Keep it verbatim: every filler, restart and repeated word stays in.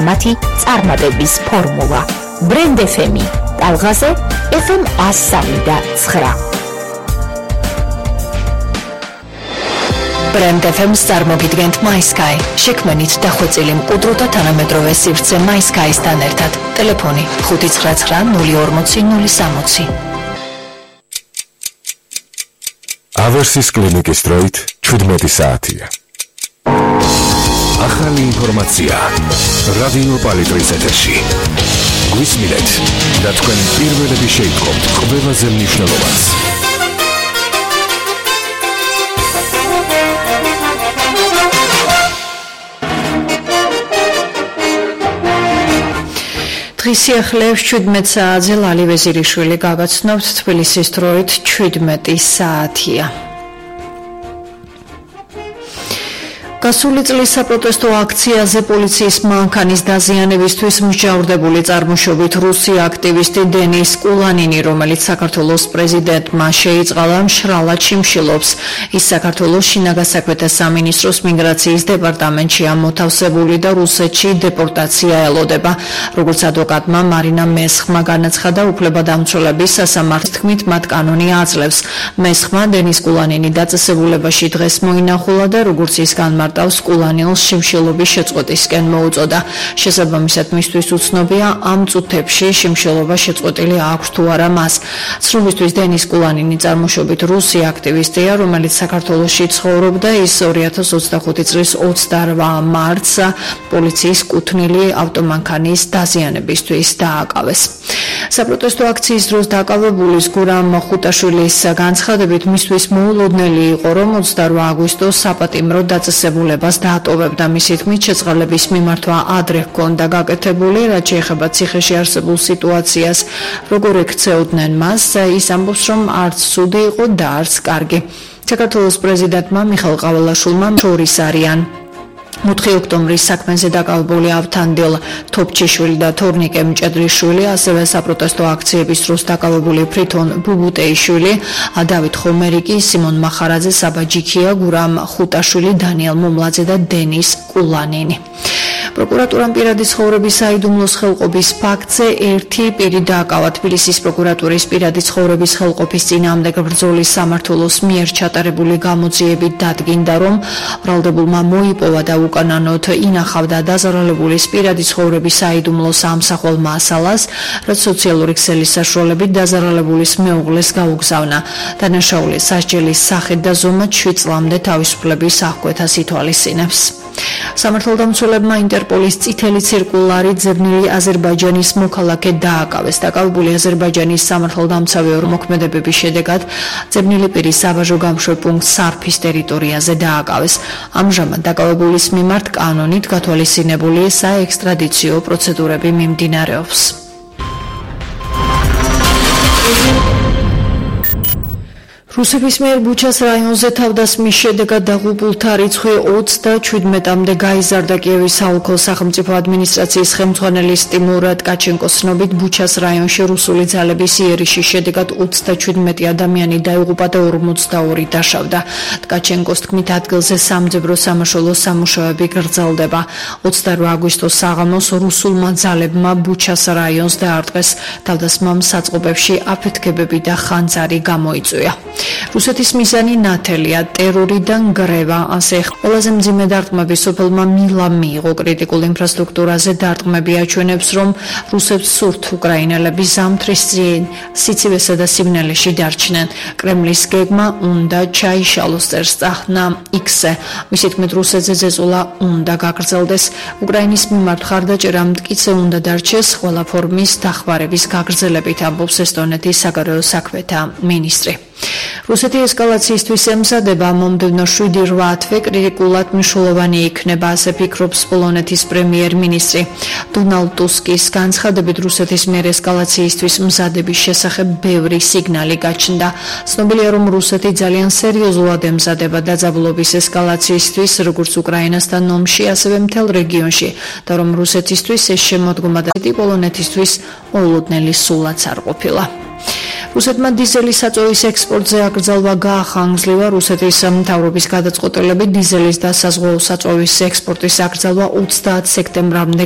მათი წარმატების ფორმულა. Brand ეფ ემი, ტალღაზე ეფ ემ ას სამი და ცხრა. Brand ეფ ემს წარმოგიდგენთ MySky. შექმნით დახვეწილი მყუდრო და თანამედროვე სივრცე MySky-სთან ერთად. ტელეფონი ხუთი ცხრა ცხრა ნული ორმოცი ნული სამოცი. ავერსის კლინიკის დროით ჩვიდმეტი საათია. ახალი ინფორმაცია რადიო პალიტრის ეთერში. გვისმინეთ და თქვენ პირველები შეიტყობთ ყველაზე მნიშვნელოვანს. დღის სიახლეებს ჩვიდმეტ საათზე ლალი ვეზირიშვილი გაგაცნობთ. თბილისის დროით ჩვიდმეტი საათია. გასული წლის საპროტესტო აქციაზე პოლიციის მანქანის დაზიანებისთვის მსჯავრდებული წარმოშობით რუსი აქტივისტი დენის კულანინი, რომელიც საქართველოს პრეზიდენტმა შეიწყალა, მშრალად შიმშილობს. ის საქართველოს შინაგან საქმეთა სამინისტროს მიგრაციის დეპარტამენტშია მოთავსებული და რუსეთში დეპორტაცია ელოდება. როგორც ადვოკატმა მარინა მესხმა განაცხადა, უფლებადამცველების სასამართლოს თქმით, მათ კანონი აძლევს. მესხმა დენის კულანინი დაწესებულებაში დღეს მოინახულა და როგორც ის განმარტავს, კულანინს შიმშილობის შეწყვეტისკენ მოუწოდა. შესაბამისად, მისთვის უცნობია ამ წუთებში შიმშილობა შეწყვეტილი აქვს თუ არა მას. ცნობისთვის დენის კულანინი წარმოშობით რუსი აქტივისტია, რომელიც საქართველოში ცხოვრობდა. ის ორი ათას ოცდახუთი წლის ოცდაორმა მარტს პოლიციის კუთვნილი ავტომანქანის დაზიანებისთვის დააკავეს. საპროტესტო აქციის დროს დაკავებულის გურამ ხუტაშვილის განცხადებით, მისთვის მოულოდნელი იყო, რომ ოცდაორმა აგვისტოს საპატიმრო დაწესებულებას დაატოვებდა. მისი თქმით, შეწყალების მიმართვა ადრე ჰქონდა გაკეთებული, რაც შეეხება ციხეში არსებულ სიტუაციას, როგორ ექცეოდნენ მას. ის ამბობს, რომ არც ცუდი იყო და არც კარგი. საქართველოს პრეზიდენტმა მიხეილ ყაველაშვილმა შორის არიან ოთხი ოქტომბრის საქმეზე დაკავებული ავთანდილ თოფჩიშვილი და თორნიკე მჭედრიშვილი, ასევე საპროტესტო აქციების დროს დაკავებული ფრითონ ბუბუტეიშვილი, დავით ხომერიკი, სიმონ მახარაძე, საბა ჯიქია, გურამ ხუტაშვილი, დანიელ მომლაძე და დენის კულანინი. პროკურატურამ პირადი ცხოვრების საიდუმლოს ხელყოფის ფაქტზე ერთი პირი დააკავა. თბილისის პროკურატურის პირადი ცხოვრების ხელყოფის წინააღმდეგ ბრძოლის სამმართველოს მიერ ჩატარებული გამოძიებით დადგინდა, რომ ბრალდებულმა მოიპოვა და უკანონოდ ინახავდა დაზარალებულის პირადი ცხოვრების საიდუმლოს ამსახველ მასალას, რაც სოციალური ქსელის საშუალებით დაზარალებულის მეუღლეს გაუგზავნა. დანაშაული სასჯელის სახით და ზომად შვიდ წლამდე თავისუფლების აღკვეთას ითვალისწინებს. სამართალდამცველებმა ინტერპოლის წითელი ცირკულარი ძებნილი აზერბაიჯანის მოქალაქე დააკავეს. დაკავებული აზერბაიჯანის სამართალდამცავი ორმოქმედებების შედეგად ძებნილი პირის საბაჟო გამშვებ პუნქტ სარფის ტერიტორიაზე დააკავეს. ამჟამად დაკავებულის მიმართ კანონით გათვალისწინებული საექსტრადიციო პროცედურები მიმდინარეობს. რუსების მიერ ბუჩას რაიონზე თავდასხმის შედეგად დაღუპულთა რიცხვი ოცდაჩვიდმეტამდე გაიზარდა. კიევის საოლქო სახელმწიფო ადმინისტრაციის ხელმძღვანელი ტიმურ ткаჩენკოს ცნობით, ბუჩას რაიონში რუსული ძალების იერიშის შედეგად ოცდაჩვიდმეტი ადამიანი დაიღუპა და ორმოცდაორი დაშავდა. ткаჩენკოს თქმით, ადგილზე სამძებრო სამაშველო სამუშაოები გრძელდება. ოცდაორმა აგვისტოს საღამოს რუსულმა ძალებმა ბუჩას რაიონს დაარტყეს. თავდასხმამ საწყობებში აფეთქებები და ხანძარი გამოიწვია. რუსეთის მიზანი ნათელია, ტერორიდან გრევა, ასე ყველაზე მძიმე დარტყმები სოფელმა მილა მიიღო. კრიტიკულ ინფრასტრუქტურაზე დარტყმები აჩვენებს, რომ რუსებს სურთ უკრაინელები ზამთრის წინ სიცივესა და სიბნელეში დარჩნენ. კრემლის გეგმა უნდა ჩაიშალოს, წერს წახნა იქსზე. მისი თქმით, რუსეთზე ზეწოლა უნდა გაგრძელდეს. უკრაინის მიმართ ხარდაჭერა მტკიცე უნდა დარჩეს ყველა ფორმის დახმარების გაგრძელებით, ამბობს ესტონეთის საგარეო საქმეთა მინისტრი. რუსეთი ესკალაციისთვის ემზადება. მომდევნო შვიდი რვა თვე კრიტიკულად მნიშვნელოვანი იქნება, ასე ფიქრობს პოლონეთის პრემიერ-მინისტრი. დონალდ ტუსკის განცხადებით, რუსეთის მიერ ესკალაციისთვის მზადების შესახებ ბევრი სიგნალი გაჩნდა. ცნობილია, რომ რუსეთი ძალიან სერიოზულად ემზადება დაძაბულობის ესკალაციისთვის, როგორც უკრაინასთან ომში, ასევე მთელ რეგიონში, და რომ რუსეთისთვის ეს შემოდგომა და პოლონეთისთვის მოულოდნელი სულაც არ ყოფილა. რუსეთმა დიზელის საწოვის ექსპორტზე აკრძალვა გაახანგრძლივა. რუსეთის მთავრობის გადაწყვეტილებით დიზელის და საზღვაო საწოვის ექსპორტის აკრძალვა ოცდაათ სექტემბრამდე